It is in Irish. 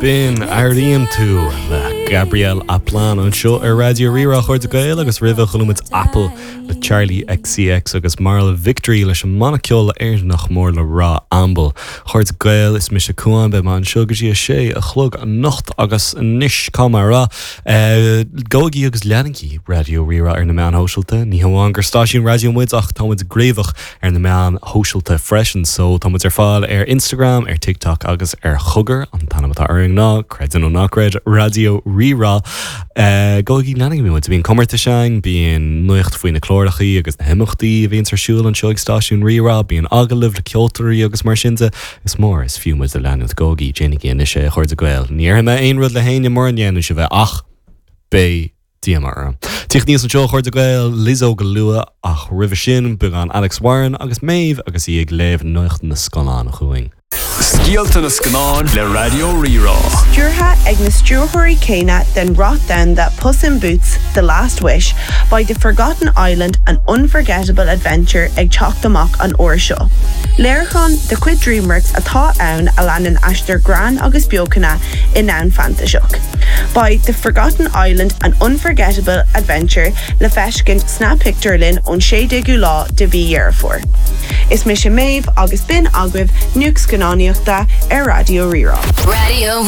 B'in Airíonn Tú le Gabrielle Aplin anseo ar Raidió Rí-Rá, a chairde Gael agus roimhe chuala muid Apple le Charli XCX agus Myrla Victory leis an mbanna ceoil Éireannach mór le rá Amble. A chairde Gael, is mise Cuán, beidh mé anseo go dtí a sé a chlog anocht agus anois cá mé a rá, gabhaigí agus leanaigí Raidió Rí-Rá ar na meáin shóisialta. Ní hamháin gur stáisiún raidió muid ach tá muid gníomhach ar na meáin shóisialta freisin. So tá muid ar fáil ar Instagram, ar TikTok agus ar Chogar, an t-ainm atá orainn ná, creid é nó ná creid, Raidió Rí-Rá. Gabhaigí leanaigí muid. Bíonn comórtais ann, bíonn nuacht faoi na clárachaí agus na himeachtaí a bhíonns ar siúl anseo ag stáisiún Rí-Rá, bíonn agallaimh le ceoltóirí agus mar sin de. Is mór is fiú muid a leanúint. Gabhaigí, déanaigí anois é a chairde Gael. Ní dhéarfaidh mé aon rud le héinne mura ndéanann sibh é ach beidh díomá orm. Tíocht aníos anseo a chairde Gael, Lizzo go luath ach roimhe sin, beagán Alex Warren agus Méabh agus í ag léamh nuacht na scannán chugainn. Scéalta na Scannán le Raidió Rí-Rá. Stiúrtha ag na stiúrthóirí céanna den rath domhanda Puss in Boots, The Last Wish, beidh The Forgotten Island, An Unforgettable Adventure ag teacht amach an uair seo. Léiriúchán de chuid DreamWorks atá ann a leanann aistear greann agus beochana i ndomhan fantaiseach. Beidh The Forgotten Island, An Unforgettable Adventure le feiscint sna pictiúrlanna ón 16ú lá de mhí Dheireadh Fómhair. Is mise Méabh agus b'in agaibh nuacht scannánaíochta ar Raidió Rí-Rá. Radio.